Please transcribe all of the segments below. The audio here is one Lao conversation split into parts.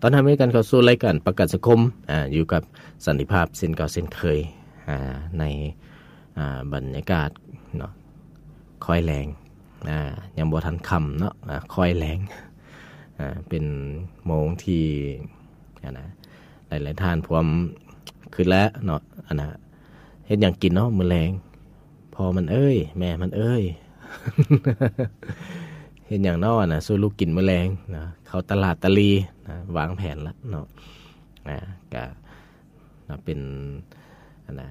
ຕ້ອນຮັບໃຫ້ກັນເຂົ້າສູ່ລາຍການປະກັນສັງຄົມ ອາ ຢູ່ກັບສັນຕິພາບເຊັ່ນເກົ່າເຊັ່ນເຄີຍ ອາ ໃນ ອາ ບັນຍາກາດເນາະ ຄ່ອຍແລງ ອາ ຍັງບໍ່ທັນຄ່ຳເນາະ ອາ ຄ່ອຍແລງ ອາ ເປັນໂມງທີ່ ອັນນະ ຫຼາຍໆທ່ານພວມຄຶດແລ້ວເນາະ ອັນນະ ເຮັດຫຍັງກິນເນາະມື້ແລງ ພໍ່ມັນເອີຍ ແມ່ມັນເອີຍ ເຮັດຫຍັງເນາະນະ ສູ່ລູກກິນມື້ແລງນະ ເຂົ້າຕະຫຼາດຕະຫຼີນະ ວາງແຜນລະເນາະ ອາ ກະເປັນ ອັນນະ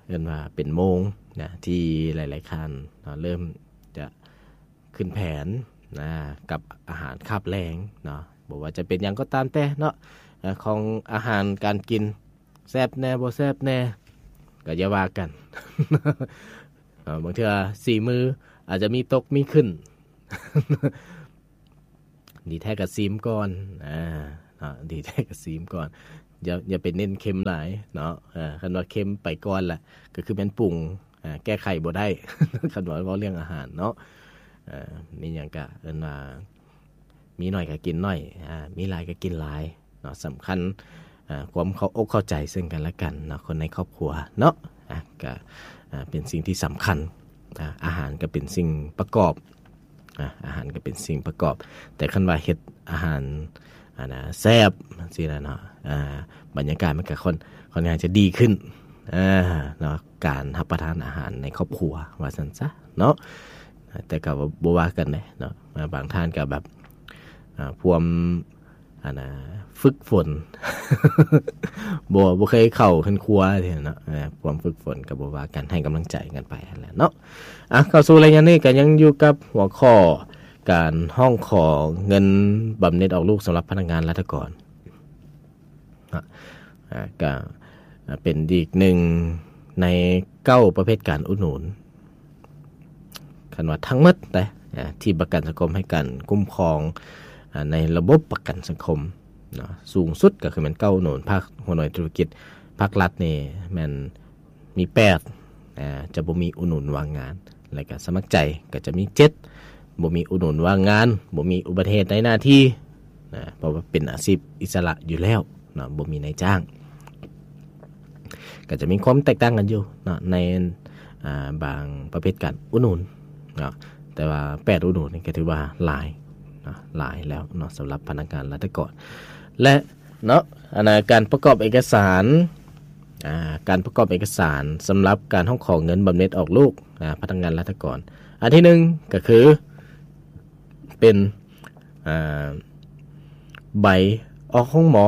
ເອີ້ນວ່າເປັນໂມງນະ ທີ່ຫຼາຍໆທ່ານເນາະ ເລີ່ມຈະຂຶ້ນແຜນນະ ກັບອາຫານຄາບແລງເນາະ ບໍ່ວ່າຈະເປັນຫຍັງກໍຕາມແຕ່ເນາະ ຂອງອາຫານການກິນ ແຊບແດ່ບໍ່ແຊບແດ່ ກໍຢ່າວ່າກັນ ເອີ ບາງເທື່ອສີ່ມື້ອາດຈະມີຕົກມີຂຶ້ນ ດີແທ້ກໍຊີມກ່ອນ ອາ ເນາະ ດີແທ້ກໍຊີມກ່ອນ ຢ່າ ຢ່າໄປເນັ້ນເຄັມຫຼາຍເນາະ ເອີ ຄັນວ່າເຄັມໄປກ່ອນລະ ກໍຄືແມ່ນປຸງ ອາ ແກ້ໄຂບໍ່ໄດ້ ຄັນວ່າເວົ້າເລື່ອງອາຫານເນາະ ເອີ ມີຫຍັງກະເອີ້ນວ່າ ມີໜ້ອຍກໍກິນໜ້ອຍ ອາ ມີຫຼາຍກໍກິນຫຼາຍເນາະ ສຳຄັນ ອາ ຄວາມເຂົ້າອົກເຂົ້າໃຈເຊິ່ງກັນແລະກັນເນາະ ຄົນໃນຄອບຄົວເນາະ ອາ ກໍ ອາ ເປັນສິ່ງທີ່ສຳຄັນ ອາ ອາຫານກໍເປັນສິ່ງປະກອບ ອາ ອາຫານກໍເປັນສິ່ງປະກອບ ແຕ່ຄັນວ່າເຮັດອາຫານ ອັນນະ ແຊບຈັ່ງຊີ້ນະເນາະ ອາ ບັນຍາກາດມັນກໍຄ່ອນ ຄ່ອນຂ້າງຈະດີຂຶ້ນ ອາ ເນາະ ການຮັບປະທານອາຫານໃນຄອບຄົວວ່າຊັ້ນຊະເນາະ ແຕ່ກໍບໍ່ວ່າກັນເດ້ເນາະ ບາງທ່ານກໍແບບ ອາ ພວມ ອັນນະ ຝຶກຝົນ ບໍ່ ບໍ່ເຄີຍເຂົ້າເຮືອນຄົວເນາະ ອາ ຄວາມຝຶກຝົນກໍບໍ່ວ່າກັນ ໃຫ້ກຳລັງໃຈກັນໄປຫັ້ນແຫຼະເນາະ ອາ ເຂົ້າສູ່ໄລຍະນີ້ກໍຍັງຢູ່ກັບຫົວຂໍ້ການຮ້ອງຂໍເງິນບຳເໜັດອອກລູກສຳລັບພະນັກງານລັດຖະກອນ ອາ ກະເປັນອີກໜຶ່ງໃນເກົ້າປະເພດການອຸດໜູນ ຄັນວ່າທັງໝົດເດ້ ອາ ທີ່ປະກັນສັງຄົມໃຫ້ການຄຸ້ມຄອງ ອາ ໃນລະບົບປະກັນສັງຄົມເນາະ ສູງສຸດກໍຄືແມ່ນເກົ້າອຸດໜູນ ພາກຫົວໜ່ວຍທຸລະກິດ ພາກລັດນີ້ແມ່ນ ມີແປດ ອາ ຈະບໍ່ມີອຸດໜູນວ່າງງານ ແລະກະສະໝັກໃຈກໍຈະມີເຈັດ ບໍ່ມີອຸດໜູນວ່າງງານ ບໍ່ມີອຸບັດຕິເຫດໃນໜ້າທີ່ນະ ເພາະວ່າເປັນອາຊີບອິດສະຫຼະຢູ່ແລ້ວເນາະ ບໍ່ມີນາຍຈ້າງ ກໍຈະມີຄວາມແຕກຕ່າງກັນຢູ່ເນາະ ໃນ ອາ ບາງປະເພດການອຸດໜູນເນາະ ແຕ່ວ່າແປດອຸດໜູນນີ້ກໍຖືວ່າຫຼາຍເນາະ ຫຼາຍແລ້ວເນາະ ສຳລັບພະນັກງານລັດຖະກອນ ແລະ ເນາະ ອັນນະ ການປະກອບເອກະສານ ອາ ການປະກອບເອກະສານສຳລັບການຮ້ອງຂໍເງິນບຳເໜັດອອກລູກ ອາ ພະນັກງານລັດຖະກອນ ອັນທີໜຶ່ງກໍຄືເປັນ ອາ ໃບອອກໂຮງໝໍ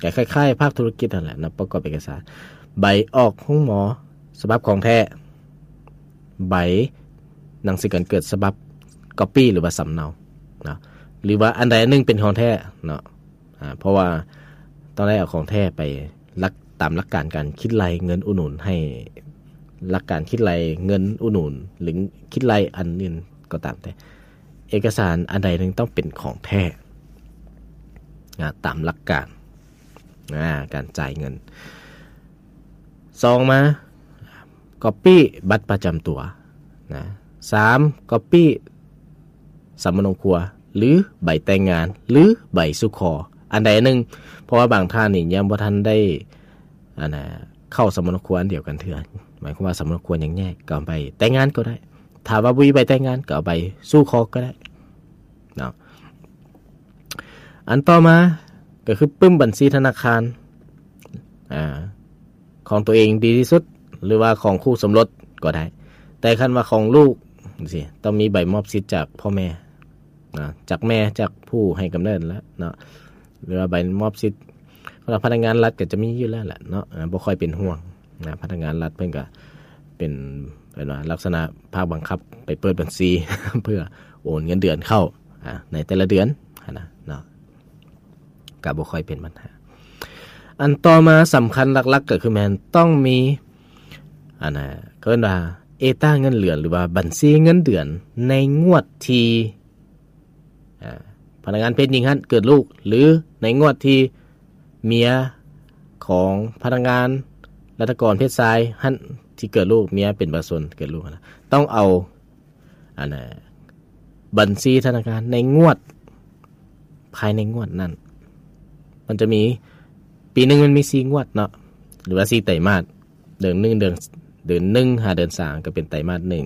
ກໍຄ້າຍໆພາກທຸລະກິດຫັ້ນແຫຼະເນາະ ປະກອບເອກະສານ ໃບອອກໂຮງໝໍສະບັບຂອງແທ້ ໃບໜັງສືການເກີດສະບັບ copy ຫຼືວ່າສຳເນົາເນາະ ຫຼືວ່າອັນໃດອັນໜຶ່ງເປັນຂອງແທ້ເນາະ ອາ ເພາະວ່າຕ້ອງໄດ້ເອົາຂອງແທ້ໄປຫຼັກ ຕາມຫຼັກການການຄິດໄລ່ເງິນອຸດໜູນ ໃຫ້ຫຼັກການຄິດໄລ່ເງິນອຸດໜູນ ຫຼື ຄິດໄລ່ອັນອື່ນກໍຕາມແຕ່ ເອກະສານອັນໃດໜຶ່ງຕ້ອງເປັນຂອງແທ້ ອາ ຕາມຫຼັກການ ອາ ການຈ່າຍເງິນ ສອງມາ copy ບັດປະຈຳຕົວນະ ສາມ copy ສຳມະໂນຄົວ ຫຼື ໃບແຕ່ງງານ ຫຼື ໃບສູ່ຂໍ ອັນໃດອັນໜຶ່ງ ເພາະວ່າບາງທ່ານນີ້ຍັງບໍ່ທັນໄດ້ ອັນນະ ເຂົ້າສຳມະໂນຄົວອັນດຽວກັນເທື່ອ ໝາຍຄວາມວ່າສຳມະໂນຄົວຍັງແຍກ ກໍເອົາໃບແຕ່ງງານກໍໄດ້ ຖ້າວ່າບໍ່ມີໃບແຕ່ງງານ ກໍເອົາໃບສູ່ຂໍກໍໄດ້ເນາະ ອັນຕໍ່ມາກໍຄືປຶ້ມບັນຊີທະນາຄານ ອາ ຂອງຕົວເອງດີທີ່ສຸດ ຫຼືວ່າຂອງຄູ່ສົມລົດກໍໄດ້ ແຕ່ຄັນວ່າຂອງລູກຈັ່ງຊີ້ ຕ້ອງມີໃບມອບສິດຈາກພໍ່ແມ່ນະ ຈາກແມ່ ຈາກຜູ້ໃຫ້ກຳເນີດແລ້ວເນາະ ຫຼືວ່າໃບມອບສິດ ສຳລັບພະນັກງານລັດກໍຈະມີຢູ່ແລ້ວແຫຼະເນາະ ອາ ບໍ່ຄ່ອຍເປັນຫ່ວງນະ ພະນັກງານລັດເພິ່ນກໍເປັນ ເອີ້ນວ່າລັກສະນະພາກບັງຄັບໄປເປີດບັນຊີ ເພື່ອໂອນເງິນເດືອນເຂົ້າ ອາ ໃນແຕ່ລະເດືອນຫັ້ນນະເນາະ ກໍບໍ່ຄ່ອຍເປັນບັນຫາ. ອັນຕໍ່ມາສຳຄັນຫຼັກໆ ກໍຄືແມ່ນຕ້ອງມີ ອັນນະ ເອີ້ນວ່າເອຕາເງິນເດືອນ ຫຼືວ່າບັນຊີເງິນເດືອນໃນງວດທີ່ ອາ ພະນັກງານເພດຍິງຫັ້ນເກີດລູກ ຫຼືໃນງວດທີ່ເມຍຂອງພະນັກງານລັດຖະກອນເພດຊາຍຫັ້ນທີ່ເກີດລູກ ເມຍເປັນປະຊາຊົນເກີດລູກຫັ້ນນະ ຕ້ອງເອົາ ອັນນະ ບັນຊີທະນາຄານໃນງວດ ພາຍໃນງວດນັ້ນ ມັນຈະມີ ປີໜຶ່ງມັນມີສີ່ງວດເນາະ ຫຼືວ່າສີ່ໄຕມາດ. ເດືອນໜຶ່ງ ເດືອນ ເດືອນໜຶ່ງຫາເດືອນສາມກໍເປັນໄຕມາດໜຶ່ງ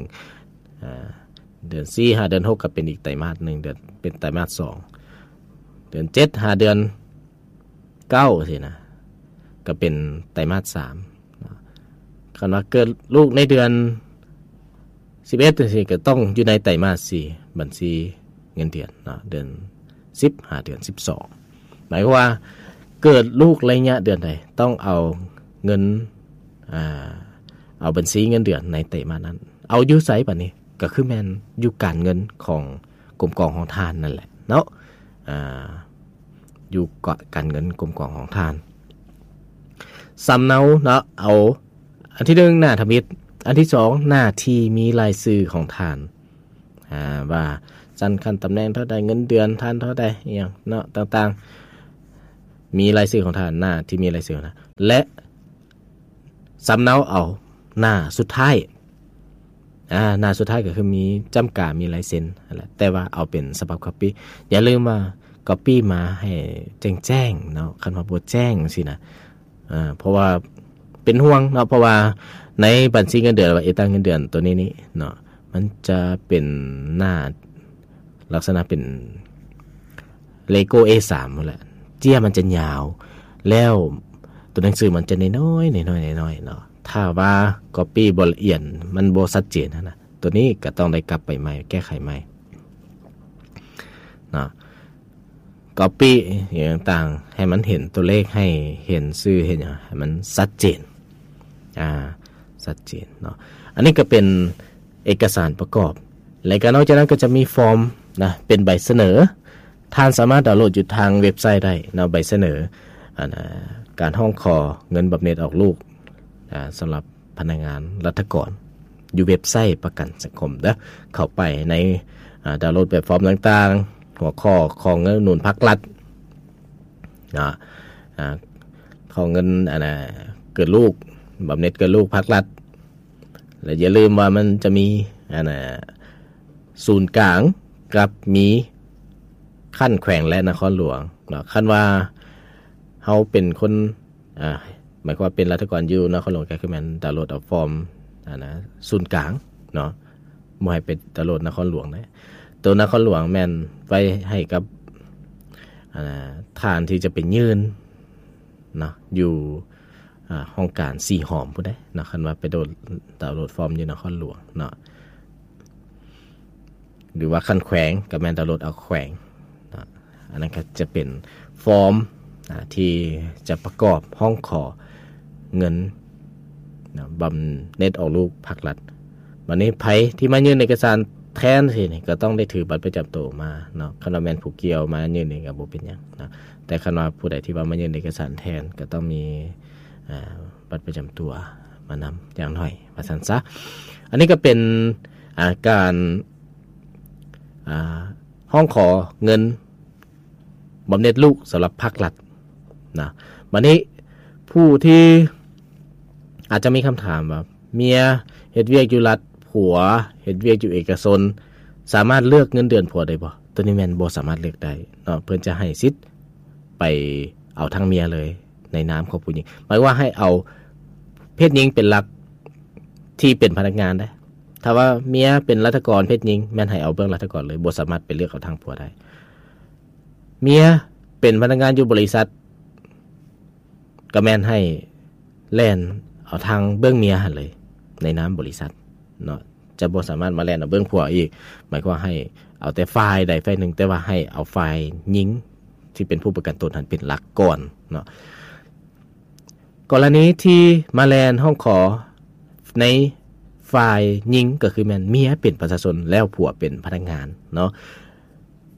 ອາ ເດືອນສີ່ຫາເດືອນຫົກກໍເປັນອີກໄຕມາດໜຶ່ງ ເດືອນ ເປັນໄຕມາດສອງ ເດືອນເຈັດຫາເດືອນເກົ້າຊີ້ນະ ກໍເປັນໄຕມາດສາມເນາະ. ຄັນວ່າເກີດລູກໃນເດືອນສິບເອັດຈັ່ງຊີ້ ກໍຕ້ອງຢູ່ໃນໄຕມາດສີ່ ບັນຊີເງິນເດືອນເນາະ ເດືອນສິບຫາເດືອນສິບສອງ. ໝາຍຄວາມວ່າເກີດລູກໄລຍະເດືອນໃດ ຕ້ອງເອົາເງິນ ອາ ເອົາບັນຊີເງິນເດືອນໃນໄຕມາດນັ້ນ. ເອົາຢູ່ໃສບາດນີ້? ກໍຄືແມ່ນຢູ່ການເງິນຂອງກົມກອງຂອງທ່ານນັ້ນແຫຼະເນາະ ອາ ຢູ່ການເງິນກົມກອງຂອງທ່ານ. ສຳເນົາເນາະ ເອົາອັນທີໜຶ່ງ ໜ້າທຳອິດ, ອັນທີສອງ ໜ້າທີ່ມີລາຍຊື່ຂອງທ່ານ ອາ ວ່າຊັ້ນຂັ້ນຕຳແໜ່ງເທົ່າໃດ, ເງິນເດືອນທ່ານເທົ່າໃດ ອີ່ຫຍັງເນາະ ຕ່າງໆ ມີລາຍຊື່ຂອງທ່ານ, ໜ້າທີ່ມີລາຍຊື່ຂອງທ່ານ ແລະ ສຳເນົາເອົາໜ້າສຸດທ້າຍ ອາ ໜ້າສຸດທ້າຍກໍຄືມີຈ້ຳກາ ມີລາຍເຊັນຫັ້ນແຫຼະ ແຕ່ວ່າເອົາເປັນສະບັບກັອບປີ້. ຢ່າລືມວ່າກັອບປີ້ມາໃຫ້ແຈ້ງໆເນາະ, ຄັນວ່າບໍ່ແຈ້ງຈັ່ງຊີ້ນະ ເພາະວ່າເປັນຫ່ວງເນາະ ເພາະວ່າໃນບັນຊີເງິນເດືອນ ຫຼືວ່າເອກສານເງິນເດືອນໂຕນີ້ນີ້ເນາະ ມັນຈະເປັນໜ້າ ລັກສະນະເປັນເລໂກ້ ເອສາມ ພຸ້ນແຫຼະ, ເຈ້ຍມັນຈະຍາວ ແລ້ວຕົວໜັງສືມັນຈະນ້ອຍໆ ນ້ອຍໆ ນ້ອຍໆເນາະ. ຖ້າວ່າກັອບປີ້ບໍ່ລະອຽດ ມັນບໍ່ຊັດເຈນຫັ້ນນະ, ຕົວນີ້ກໍຕ້ອງໄດ້ກັບໄປໃໝ່ ແກ້ໄຂໃໝ່ເນາະ. ກັອບປີ້ຫຍັງຕ່າງໆ ໃຫ້ມັນເຫັນຕົວເລກ ໃຫ້ເຫັນຊື່ ເຫັນຫຍັງ ໃຫ້ມັນຊັດເຈນ ອາ ຊັດເຈນເນາະ. ອັນນີ້ກໍເປັນເອກະສານປະກອບ ແລະ ກໍນອກຈາກນັ້ນກໍຈະມີຟອມນະ ເປັນໃບສະເໜີ. ທ່ານສາມາດດາວໂຫຼດຢູ່ທາງເວັບໄຊໄດ້ເນາະ ໃບສະເໜີ ອັນ ອາ ການຮ້ອງຂໍເງິນບຳເໜັດອອກລູກ ອາ ສຳລັບພະນັກງານລັດຖະກອນ ຢູ່ເວັບໄຊປະກັນສັງຄົມເດີ. ເຂົ້າໄປໃນ ອາ ດາວໂຫຼດແບບຟອມຕ່າງໆ ຫົວຂໍ້ ຂໍເງິນອຸດໜູນພັກລັດ ເນາະ ອາ ຂໍເງິນ ອັນນະ ເກີດລູກ ບຳເໜັດເກີດລູກພັກລັດ ແລະ ຢ່າລືມວ່າມັນຈະມີ ອັນນະ ສູນກາງກັບມີຂັ້ນແຂວງ ແລະ ນະຄອນຫຼວງເນາະ. ຄັນວ່າເຮົາເປັນຄົນ ອາ ໝາຍຄວາມວ່າເປັນລັດຖະກອນຢູ່ນະຄອນຫຼວງ ກໍຄືແມ່ນດາວໂຫຼດເອົາຟອມ ອັນນະ ສູນກາງເນາະ, ບໍ່ໃຫ້ໄປດາວໂຫຼດນະຄອນຫຼວງນະ. ໂຕນະຄອນຫຼວງແມ່ນໄວ້ໃຫ້ກັບ ອັນນະ ທ່ານທີ່ຈະໄປຍື່ນເນາະ ຢູ່ ອາ ຫ້ອງການສີ່ຫ້ອມພຸ້ນເດ້ເນາະ ຄັນວ່າໄປໂດນ ດາວໂຫຼດຟອມຢູ່ນະຄອນຫຼວງເນາະ. ຫຼືວ່າຂັ້ນແຂວງກໍແມ່ນດາວໂຫຼດເອົາແຂວງເນາະ. ອັນນັ້ນກໍຈະເປັນຟອມ ອາ ທີ່ຈະປະກອບຮ້ອງຂໍເງິນເນາະ ບຳເໜັດອອກລູກພັກລັດ. ບັດນີ້ໃຜທີ່ມາຍື່ນເອກະສານແທນຊີ້ນີ້ ກໍຕ້ອງໄດ້ຖືບັດປະຈຳໂຕມາເນາະ. ຄັນວ່າແມ່ນຜູ້ກ່ຽວມາຍື່ນນີ້ກໍບໍ່ເປັນຫຍັງເນາະ, ແຕ່ຄັນວ່າຜູ້ໃດທີ່ວ່າມາຍື່ນເອກະສານແທນ ກໍຕ້ອງມີ ອາ ບັດປະຈຳຕົວມານຳຢ່າງໜ້ອຍ ວ່າຊັ້ນຊະ. ອັນນີ້ກໍເປັນ ອາ ການ ອາ ຮ້ອງຂໍເງິນບຳເໜັດລູກສຳລັບພາກລັດນະ. ບັດນີ້ຜູ້ທີ່ອາດຈະມີຄຳຖາມວ່າ ເມຍເຮັດວຽກຢູ່ລັດ ຜົວເຮັດວຽກຢູ່ເອກະຊົນ ສາມາດເລືອກເງິນເດືອນຜົວໄດ້ບໍ່? ໂຕນີ້ແມ່ນບໍ່ສາມາດເລືອກໄດ້ເນາະ, ເພິ່ນຈະໃຫ້ສິດໄປເອົາທາງເມຍເລີຍ ໃນນາມຂອງຜູ້ຍິງ. ໝາຍວ່າໃຫ້ເອົາເພດຍິງເປັນຫຼັກທີ່ເປັນພະນັກງານເດ້. ຖ້າວ່າເມຍເປັນລັດຖະກອນເພດຍິງ ແມ່ນໃຫ້ເອົາເບື້ອງລັດຖະກອນເລີຍ, ບໍ່ສາມາດໄປເລືອກເອົາທາງຜົວໄດ້. ເມຍເປັນພະນັກງານຢູ່ບໍລິສັດ ກໍແມ່ນໃຫ້ແລ່ນເອົາທາງເບື້ອງເມຍຫັ້ນເລີຍ ໃນນາມບໍລິສັດເນາະ, ຈະບໍ່ສາມາດມາແລ່ນເອົາເບື້ອງຜົວອີກ. ໝາຍຄວາມວ່າໃຫ້ເອົາແຕ່ຝ່າຍໃດຝ່າຍໜຶ່ງ, ແຕ່ວ່າໃຫ້ເອົາຝ່າຍຍິງທີ່ເປັນຜູ້ປະກັນຕົນຫັ້ນເປັນຫຼັກກ່ອນເນາະ. ກໍລະນີທີ່ມາແລ່ນຮ້ອງຂໍໃນຝ່າຍຍິງ ກໍຄືແມ່ນເມຍເປັນປະຊາຊົນ ແລ້ວຜົວເປັນພະນັກງານເນາະ.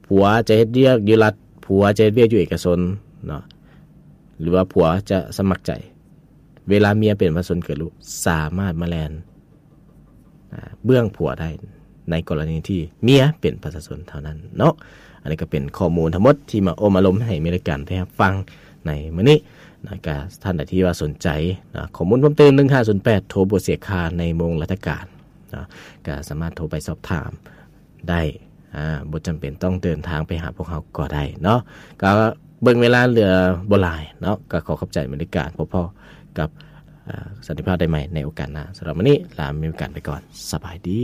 ຜົວຈະເຮັດວຽກຢູ່ລັດ, ຜົວຈະເຮັດວຽກຢູ່ເອກະຊົນເນາະ, ຫຼືວ່າຜົວຈະສະໝັກໃຈ, ເວລາເມຍເປັນປະຊາຊົນເກີດລູກ ສາມາດມາແລ່ນ ອາ ເບື້ອງຜົວໄດ້ ໃນກໍລະນີທີ່ເມຍເປັນປະຊາຊົນເທົ່ານັ້ນເນາະ. ອັນນີ້ກໍເປັນຂໍ້ມູນທັງໝົດທີ່ມາໂອ້ມາລົມໃຫ້ມີລາຍການໄດ້ຮັບຟັງໃນມື້ນີ້ນະ. ກະທ່ານໃດທີ່ວ່າສົນໃຈນະ ຂໍ້ມູນເພີ່ມເຕີມ ໜຶ່ງຫ້າສູນແປດ ໂທບໍ່ເສຍຄ່າໃນໂມງລາຊະການເນາະ, ກະສາມາດໂທໄປສອບຖາມ ໄດ້ ອາ ບໍ່ຈຳເປັນຕ້ອງເດີນທາງໄປຫາພວກເຮົາກໍໄດ້ເນາະ. ກໍ ເບິ່ງເວລາເຫຼືອບໍ່ຫຼາຍເນາະ ກໍຂໍຂອບໃຈອາເມລິກາ ພົບພໍ້ກັບ ເອີ ສັນຕິພາບໄດ້ໃໝ່ໃນໂອກາດໜ້າ. ສຳລັບມື້ນີ້ລາອາເມລິກາໄປກ່ອນ. ສະບາຍດີ.